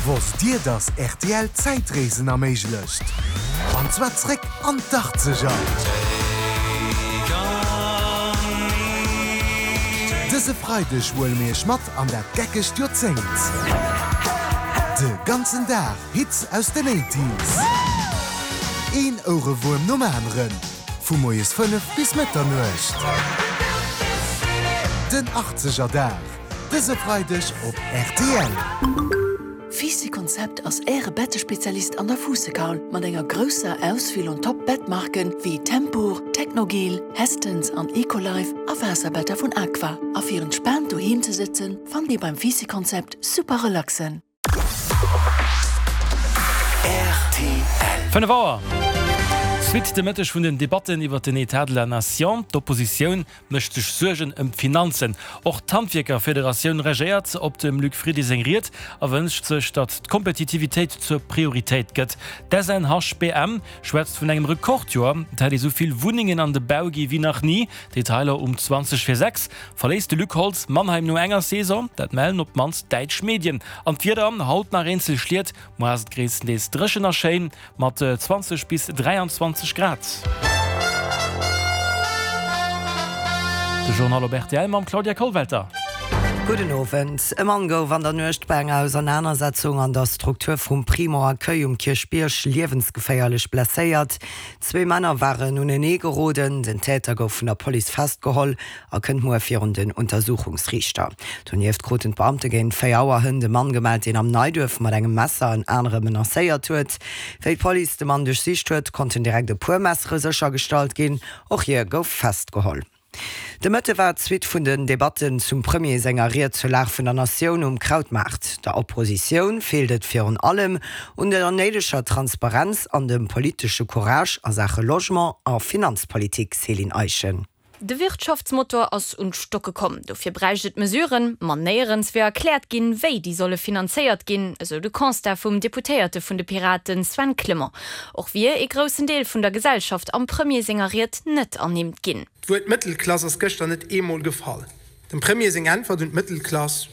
Wosst Dir, dass rtl Zäitreesen erméiglecht? An zwar zréck an d'Achtzeger! Dëse Freideg huele mir Iech mat an dat geckegt Joerzéngt. De ganzen Dag Hits aus den Eighties. Een Ouerewuerm nom aneren, vu moies 5 bis Mëtternuecht. Den Achtzegerdag. Dëse Freideg op rtl. Fisi Konzept ass Äre Bettespezialist an der Fuussekaul mat enger grousser Auswiel un Top Bettmarken wéi Tempur, Technogel, Hästens an Ecolife a Waasserbetter vun Aqua. A fir entspaant doheem ze sëtzen, fannt Dir beim Fisi Konzept super relaxen. 5 Auer, Suite de Mëtteg vun den Debatten iwwer den Etat de la Nation. D'Oppositioun mécht sech Suergen ëm d'Finanzen. Och d'Handwierkerfederatioun reagéiert op dem Luc Frieden seng Ried a wënscht sech, datt d'Kompetitivitéit zur Prioritéit gëtt. D'SNHBM schwätzt vun engem Rekordjoer. Et hätt ee sou vill Wunnengen an de Bau gi wéi nach ni. Detailer um 20 vir 6. Verléisst de Luc Holtz Mannheim no enger Saison? Dat mellen op d'mannst däitsch Medien. An d'Wieder, Haut nach eenzel Schliet, muer ass et gréisstendeels dréchen a schéin mat 20 bis 23 Grad. De Journal op rtl mam Claudia Kollwelter. Gudden Owend. E Mann gouf an der Nuecht bei enger Ausernanersetzung an der Struktur vum Primo Accueil um Kierchbierg liewensgeféierlech blesséiert. Zwee Männer waren unenee geroden. Den Täter gouf vun der Police festgeholl a kënnt muer virun den Untersuchungsriichter. Donieft kruten d'Beamte géint 4 Auer hënt e Mann gemellt, deen am Neiduerf mat engem Messer en anere menacéiert huet. Wéi d'Police de Mann duerchsicht huet, konnten direkt e puer Messere séchergestallt ginn. Och hie gouf festgeholl. De Mëtte war d'Suite vun den Debatten zum Premier senger Ried zur Lag vun der Natioun um Krautmaart. Der Oppositioun feelt et virun allem un der néideger Transparenz an dem politesche Courage a Saache Logement a Finanzpolitik, Céline Eischen. De Wirtschaftsmotor ass un d'Stocke komm. Dofir bräicht et Mesuren, ma néierens wier erkläert ginn, wéi déi solle finanzéiert ginn, esou de Constat vum Deputéierte vun de Piraten Sven Clement. Och wier ee groussen Deel vun der Gesellschaft am Premier senger Ried net ernimmt ginn. D'Wuert Mëttelklass ass gëschter net eemol gefall. Dem Premier seng Äntwert un d'Mëttelklass,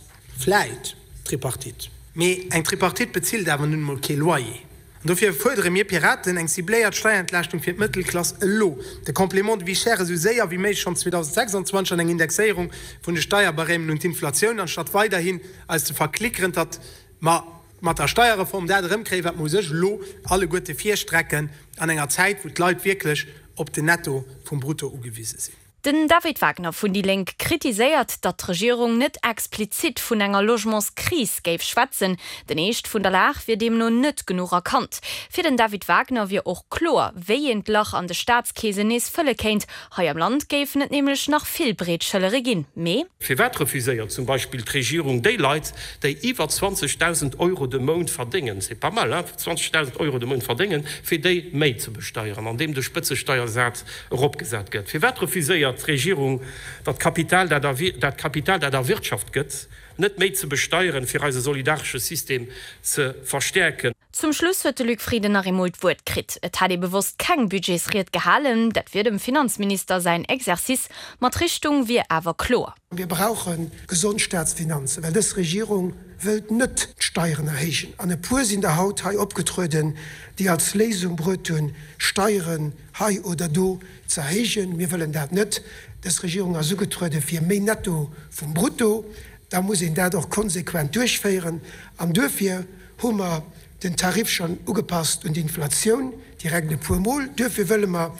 Vläit Tripartite. Mee eng Tripartite bezilt awer nun emol kee Loyer. An dofir fuerdere mir Piraten eng cibléiert Steierentlaaschtung fir d'Mëttelklass elo, de Complément de vie chère esou séier wéi méiglech schonn 2026 an eng Indexéierung vun de Steierbarèmen un d'Inflatioun, anstatt weiderhin eis ze verklickeren, datt mer mat der Steierreform dat erëmkréien, wat mer u sech elo alleguerte virstrecken an enger Zäit, wou d'Leit wierklech op den Netto vum Brutto ugewise sinn. Den David Wagner vun déi Lénk kritiséiert, datt d'Regierung net explizit vun enger Logementskris géif schwätzen. Den Eescht vun der Lag wier deemno net genuch erkannt. Fir den David Wagner wier och kloer, wéi een d'Lach an de Staatskeesen nees fëlle kéint. Hei am Land géifen et nämlech nach vill breet Schëllere ginn. Mee. Firwat refuséiert zum Beispill d'Regierung déi Leit, déi iwwer 20.000 Euro de Mount verdéngen, c'est pas mal, hein, 20.000 Euro de Mount verdéngen, fir déi méi ze besteieren, andeem de Spëtzesteiersaz eropgesat gëtt? Firwat refuséiert d'Regierung, datt Kapital, dat dat Kapital, dat erwirtschaft gëtt, net méi ze besteieren, fir eise solidaresche System ze verstäerken? Zum Schluss huet de Luc Frieden nach eemol d'Wuert kritt. Et hätt ee bewosst keng Budgetsried gehalen, dat wier dem Finanzminister säin Exercice, ma d'Richtung wier awer kloer. Mir brauche gesond Staatsfinanzen, well dës Regierung wëllt net d'Steieren erhéijen. An e puer sinn der haut hei opgetrueden, déi als Léisung bruet hunn, Steieren hei oder do ze erhéijen. Mir wëllen dat net. Dës Regierung ass ugetruede fir méi Netto vum Brutto. Da muss een dat och konsequent duerchféieren. An duerfir hu mer den Tarif schonn ugepasst un d'Inflatioun, direkt e puermol. Duerfir wëlle mer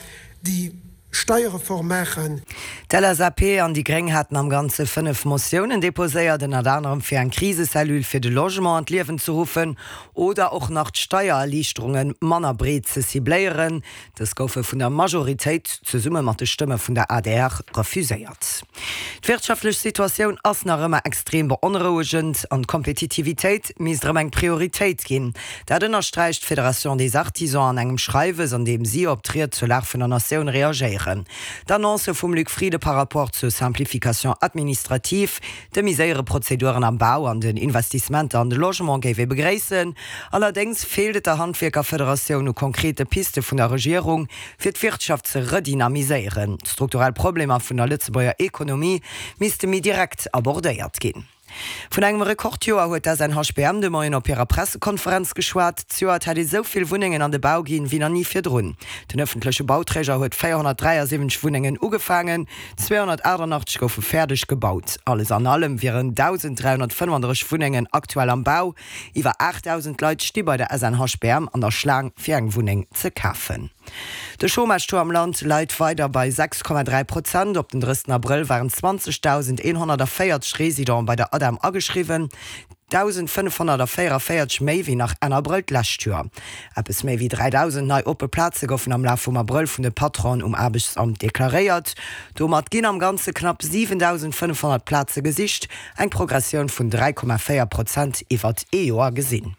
déi. Steierreform maachen. D'LSAP an déi Gréng haten am Ganze 5 Motiounen deposéiert, ënnert anerem fir eng Krisecellule fir de Logement an d'Liewen ze ruffen oder och nach d'Steiererliichterunge manner breet ze cibléieren. Dës goufe vun der Majoritéit, zesumme mat de Stëmme vun der adr, refuséiert. D'wirtschaftlech Situatioun ass nach ëmmer extrem beonrouegend an d'Kompetitivitéit misst erëm eng Prioritéit ginn. Dat ënnersträicht d'Fédération des Artisans an engem Schreiwes, an deem si op d'Ried zur Lag vun der Natioun reagéieren. D'Annoncë vum Luc Frieden par rapport zur Simplification administrative, de méi séiere Prozeduren am Bau an den Investissementer an de Logement géif ee begréissen. Allerdéngs feelt et der Handwierkerfederatioun u konkrete Piste vun der Regierung, fir d'Wirtschaft ze redynamiséieren. D'strukturell Problemer vun der Lëtzebuerger Ekonomie misste méi direkt abordéiert ginn. Vun engem Rekordjoer huet d'SNHBM de Moien op hirer Pressekonferenz geschwat. Zejoert hätt ee sou vill Wunnengen an de Bau ginn, wéi nach ni virdrun. Den ëffentleche Bauträger huet 473 Wunnengen ugefaangen, 288 goufe fäerdeg gebaut. Alles an allem wieren 1.335 Wunnengen aktuell am Bau. Iwwer 8.000 Leit sti bei der SNHBM an der Schlaang, fir eng Wunneng ze kafen. De Chômage-Taux am Land läit weider bei 6,3 Prozent. Op den 30 Abrëll waren 20.140 Residente bei der ADEM ageschriwwen, 1.544 méi wéi nach Enn Abrëll d'lescht Joer. Eppes méi wéi 3.000 nei oppe Plaze goufen am Laf vum Abrëll vun de Patronen um Aarbechtsamt deklaréiert. Domat ginn am Ganze knapp 7.500 Plaze gesicht, eng Progressioun vun 3,4 Prozent iwwert ee Joer gesinn.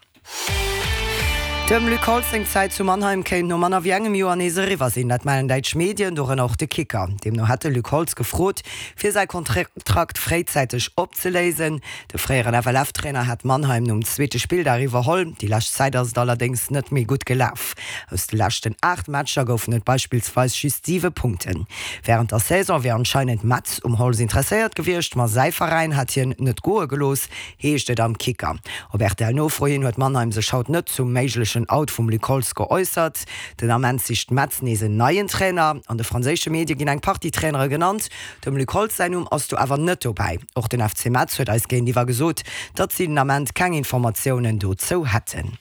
Dem Luc Holtz seng Zäit zu Mannheim kéint no manner wéi engem Joer nees eriwwer sinn. Dat mellen däitsch Medien, dorënner och de Kicker. Deemno hätt de Luc Holtz gefrot, fir säi Kontrakt fréizäiteg opzeléisen. De fréieren FLF-Trainer hat Mannheim nom zweete Spilldag iwwerholl. Déi lescht Zäit ass et allerdéngs net méi gutt gelaf. Aus de leschten 8 Matcher goufen et beispillsweis just 7 Punkten. Wärend der Saison wier anscheinend Metz um Holtz interesséiert gewiescht, ma säi Veräin hat hien net goe gelooss. heescht et am Kicker. Op RTL-Nofro hin huet Mannheim sech haut net zum méiglechen Out vum Luc Holtz geäussert. Den Ament sicht Metz nees en neien Trainer. An de franséische Medie ginn eng Partie Trainere genannt. Dem Luc Holtz säin Numm ass do awer net dobäi. Och den FC Metz huet eis géintiwwer gesot, datt si den Ament keng Informatiounen dozou hätten.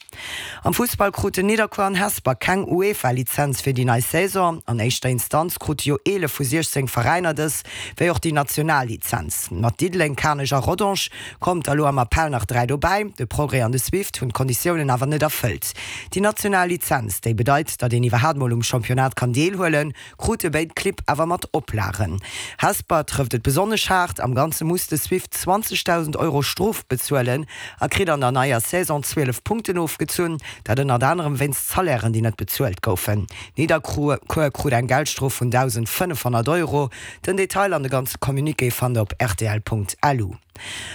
Am Fussball kruten Nidderkuer an Hesper keng UEFA-Lizenz fir déi nei Saison. An éischter Instanz krute jo 11 vu 16 Veräiner dës, wéi och déi national Lizenz. Mat Diddeleng, Kanech a Rodange kommt der elo am Appell nach 3 dobäi. De Progrès an de Swift hunn d'Konditiounen awer net erfëllt. Déi national Lizenz, déi bedeit, datt een iwwerhaat mol um Championnat kann deelhuelen, Krute béid Clibb awer mat Oplagen. Hesper trëfft et besonnesch haart, am Ganze muss de Swift 20.000 Euro Strof bezuelen a kritt an der neier Saison 12 Punkten ofgezunn, dat ënnert anerem wéinst Salairen, déi net bezuelt goufen. Nidderkuer krut eng Geldstrof vun 1.500 Euro. Den Detail an de ganze Communiqué fannt der op rtl.lu.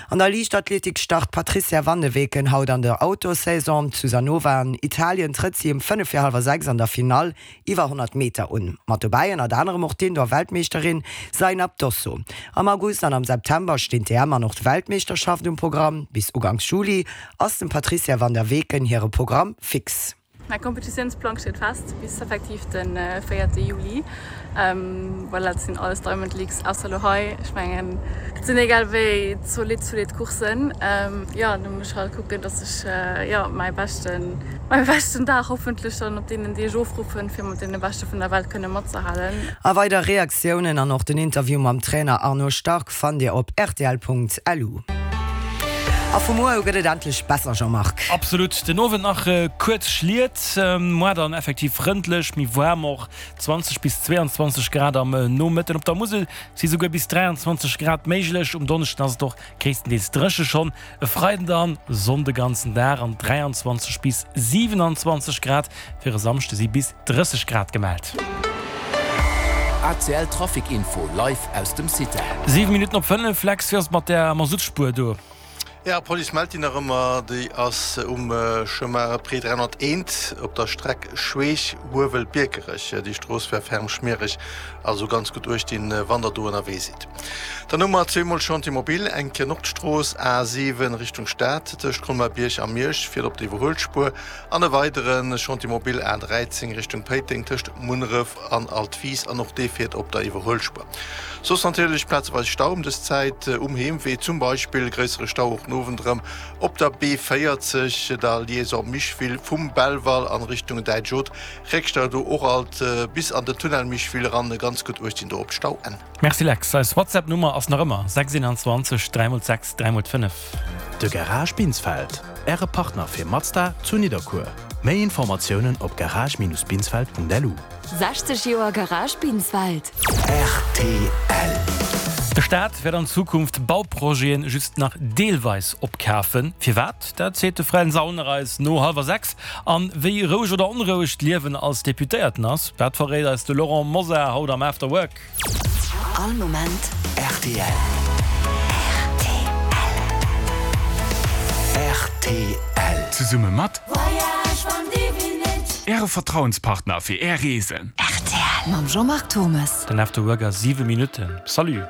An der Liichtathletik start d'Patrizia van de Weken haut an der Outdoor-Saison. Zu Sanova an Italien trëtt si ëm 5 vir hallwer 6 an der Finall iwwer 100 Meter un. Mat dobäi ënnert anerem och d'Indoor-Weltmeeschterin Zainab Dosso. Am August an am September stinn d'EM an och d'Weltmeeschterschaft um Programm. Bis Uganks Juli ass dem Patrizia van der Weken hire Programm fix. Mäi Kompetitiounsplang steet fest bis effektiv de véierte Juli. Voilà, dat sinn alles Diamond Leagues, ausser elo hei. Ech mengen, dat sinn egal wéi zolidd, zolidd Courssen. Jo, do muss ech halt kucken, dass ech, jo, mäi beschten, mäi beschten Dag hoffentlech dann op deenen Deeg ofruffen, fir mat deene Beschte vun der Welt kënne matzehalen. A weider Reaktiounen an och den Interview mam Trainer Arnaud Starck fannt Dir op rtl.lu. A vu muer u gëtt et endlech besser, Jean-Marc. Absolut. Den Owend nach kuerz Schliet, moar dann effektiv frëndlech, méi waarm och, 20 bis 22 Grad am Nomëtten. Op der Musel si souguer bis 23 Grad méiglech. Um Donneschden ass et och gréisstendeels dréche schonn. E Freiden dann Sonn de ganzen Dag an 23 bis 27 Grad. Fir e Samschde si bis 30 Grad gemellt. ACL Trafic Info live aus dem Cita. 7 Minutten op 5, Lex, wéi ass et mat där Masuttspuer do? Jo, d'Police mellt déi nach ëmmer. Déi ass um Chemin Pré 301 op der Streck Schweech-Huewel-Biekerech. Déi Strooss wär ferm schmiereg, also ganz gutt uecht dinn, wann der do ënnerwee sidd. Dann hu mer zweemol Chantier mobile, eng Kéier Nordstrooss, A7 Richtung Stad, tëscht Colmar-Bierg a Miersch, fiert op der Iwwerhuelspuer, an e weidere Chantier mobile, A13 Richtung Péiteng, tëscht Munneref an Altwis, an och dee fiert op der Iwwerhuelspuer. Soss natierlech plazeweis Stau ëm dës Zäit um Heemwee, zum Beispill gréissere Stau och den Owend erëm op der B40, der Liaison Micheville vum Belval an Richtung Däitsch Haute. Réckstau do och alt bis an den Tunnel Micheville eran. Ganz gutt uecht dinn do op d'Stauenn. Merci Lex, eis WhatsApp Nummer ass nach ëmmer 6 21 3 x 6 3 x 5. De Garage Binsfeld, Äre Partner fir Mazda zu Nidderkuer. Méi Informatiounen op garage-binsfeld.lu. 60 Joer Garage Binsfeld. Rtl. De Staat wäert an Zukunft Bauprojete just nach deelweis opkafen. Firwat? Dat seet de Fränz Aulner eis no hallwer 6. An wéi roueg oder onroueg d'Liewen als Deputéierten ass, dat verréit eis de Laurent Mosar haut am After Work. All Moment rtl. Rtl. Zesumme mat Äre Vertrauenspartner fir Är Reesen. Rtl mam Jean-Marc Thommes. Den After Work a 7 Minutten. Salut.